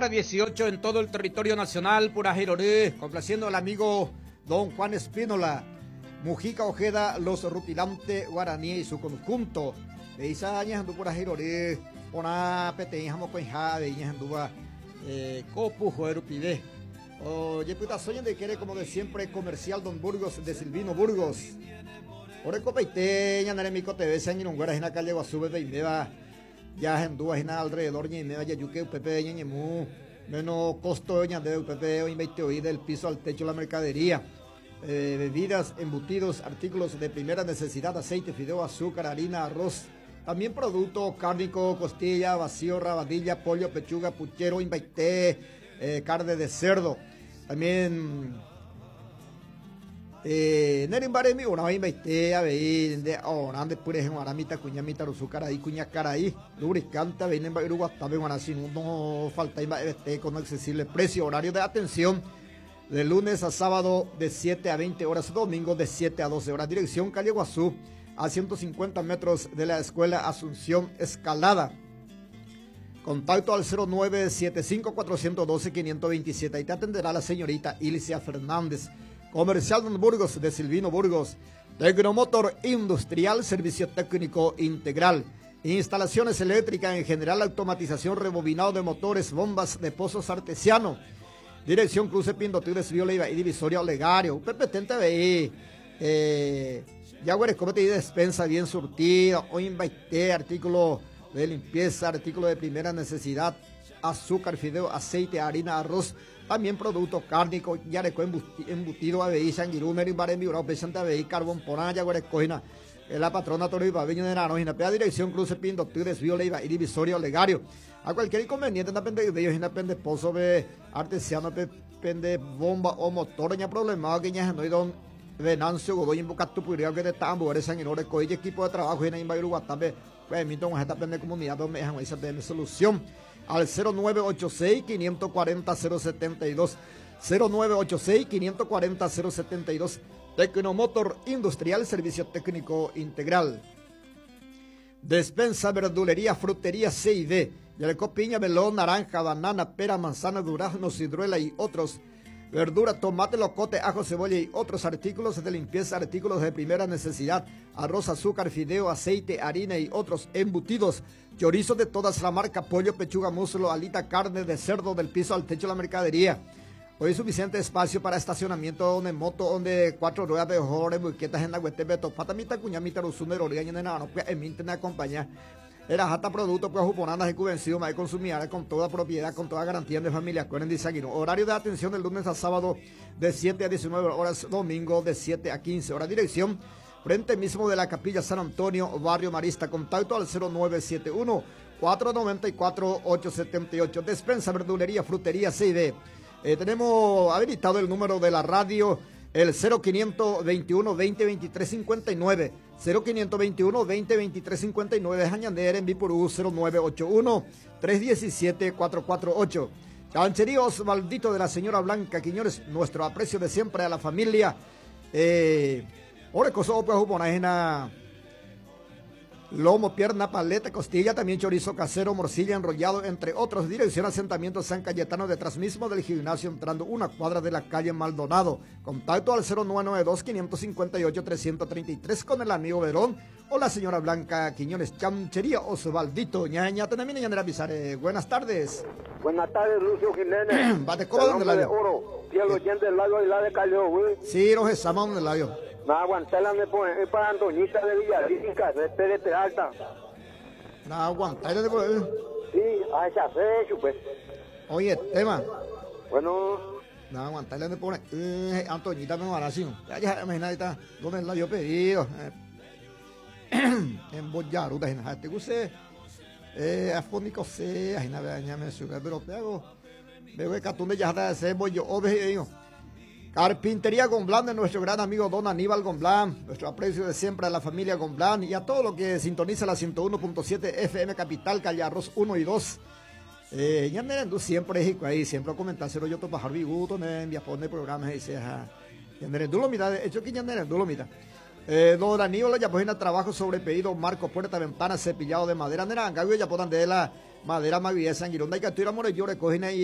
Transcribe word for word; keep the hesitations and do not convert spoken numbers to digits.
hora dieciocho en todo el territorio nacional. Pura Rory, complaciendo al amigo don Juan Espínola, Mujica Ojeda, Los Rutilante Guaraní y su conjunto. Veisa ñahendu Pura Rory, porã peteĩ ha mokõiha avei ñahendúva ko puhoe rupive. Ojepytaso ñande ykére, como de siempre, Comercial Don Burgos de Silvino Burgos. Orekopaite ñane remikotevẽ che angirũnguéra hína calle guasúpe peiméva jahendúva hína alrededor ñaiméva jajúke upépe ñañemu menos costo ñandéve upépe oĩmbaite del piso al techo la mercadería. Eh, bebidas, embutidos, artículos de primera necesidad, aceite, fideo, azúcar, harina, arroz. También producto cárnico, costilla, vacío, rabadilla, pollo, pechuga, puchero, imbaité, eh, carne de cerdo. También eh, nerimbare una imbaité, avei, de orande pure aramita, cuñamita, rusucaraí, cuñacaraí, lubricante, avei, nemba uruguatabe, guarasí, no falta imbaité con accesible precio, horario de atención de lunes a sábado de siete a veinte horas, domingo de siete a doce horas. Dirección calle Guazú, a ciento cincuenta metros de la Escuela Asunción Escalada. Contacto al cero nueve siete cinco, cuatrocientos doce, quinientos veintisiete. Ahí te atenderá la señorita Ilcia Fernández. Comercial Don Burgos de Silvino Burgos. Tecnomotor Industrial, servicio técnico integral. Instalaciones eléctricas en general, automatización, rebobinado de motores, bombas de pozos artesiano. Dirección Cruce Pindoty, Desvío Leiva y Divisoria Olegario. Pepe T V I. Eh, ya güeres, y despensa bien surtida. Hoy invité artículo de limpieza, artículo de primera necesidad, azúcar, fideo, aceite, harina, arroz, también producto cárnico, yareco embutido, A B I, sanguirú, merimbaré, miurao, pesante, A B I, carbón, porán, yaguarecoina, la patrona Toro y Babiño de Naranjina, pea dirección Cruce Pindoty, Desvío Leiva y Divisoria Olegario. A cualquier inconveniente, no pende de ellos, no pende pozo, de artesiano, pende bomba o motor, ña problema, que ña no hay don Venancio Godoy, Invocato, Puria, que de Tambo, eres sanguinore, coille, equipo de trabajo, y en Imbayuru, Guatabe, pues, mito, con esta pende comunidad, donde me dejan esa P M solución. Al cero nueve ocho seis, quinientos cuarenta, cero setenta y dos, cero nueve ocho seis, quinientos cuarenta, cero setenta y dos, Tecnomotor Industrial, servicio técnico integral. Despensa, verdulería, frutería C y D. Yalecó, piña, melón, naranja, banana, pera, manzana, durazno, ciruela y otros. Verdura, tomate, locote, ajo, cebolla y otros artículos de limpieza, artículos de primera necesidad, arroz, azúcar, fideo, aceite, harina y otros embutidos, chorizo de todas la marca, pollo, pechuga, muslo, alita, carne de cerdo del piso al techo de la mercadería. Hoy es suficiente espacio para estacionamiento donde moto, donde cuatro ruedas de mejores, buquetas en la huete, beto, pata, mita, cuña, mita, rusunero, orilla, nena, no, pues, en mi internet acompaña. Era jata producto, pues, juponadas y cuvencido, más consumir con toda propiedad, con toda garantía de familia. Acuérdense, dice aquí, ¿no? Horario de atención del lunes a sábado de siete a diecinueve horas, domingo de siete a quince horas. Dirección, frente mismo de la Capilla San Antonio, Barrio Marista. Contacto al cero nueve siete uno, cuatro noventa y cuatro, ocho setenta y ocho. Despensa, verdulería, frutería C y D. Eh, tenemos habilitado el número de la radio, el cero quinientos veintiuno, veinte, veintitrés, cincuenta y nueve. cero quinientos veintiuno, veinte, veintitrés, cincuenta y nueve, Jañander en Viporú, cero nueve ocho uno, tres diecisiete, cuatro cuatro ocho. Chanchería Osvaldito de la señora Blanca Quiñones, nuestro aprecio de siempre a la familia. Eh, ore coso, pues, juponajena, lomo, pierna, paleta, costilla, también chorizo casero, morcilla, enrollado, entre otros. Dirección Asentamiento San Cayetano, detrás mismo del gimnasio, entrando una cuadra de la calle Maldonado. Contacto al cero nueve nueve dos, quinientos cincuenta y ocho, trescientos treinta y tres con el amigo Verón o la señora Blanca Quiñones. Chanchería Osvaldito. Ñaña, tenemos ñaña, avisar. Buenas tardes. Buenas tardes, Lucio Jiménez. Bate, ¿cómo donde El hombre la de oro, fiel oyente del lago y la de Callao, güey. Sí, los estamos donde la vio. No, aguantarla me pone, es para Antoñita de Villarrica, de Pérez Peralta. No, aguantarla de por Sí, a esa fecha, pues. Oye, tema. Bueno. No, aguantarla me pone. Eh, Antoñita me va a decir. Ya, ya, imagínate, está. ¿Dónde la yo pedido? Eh, en Boyaruta, en Jate, use. Eh, afónico C, ay, nada, ya me sube, pero te hago. Veo que catún de ya está de ser, voy yo, obe, digo. Carpintería Gomblán de nuestro gran amigo don Aníbal Gomblán, nuestro aprecio de siempre a la familia Gomblán y a todo lo que sintoniza la ciento uno punto siete F M Capital, calle Arroz uno y dos. Eh, ya me ando siempre, hijo, ahí, siempre a comentárselo yo topo Harvey Guto, me envía pone programas y dice, ajá. Ya me ando lo mira, de hecho que ya me ando lo mira. Eh, don Aníbal ya pone trabajo sobre pedido, marco, puerta, ventana, cepillado de madera, nera, ya podan de la madera, maguilla, sanguirón, hay que estoy amor, yo recogen ahí.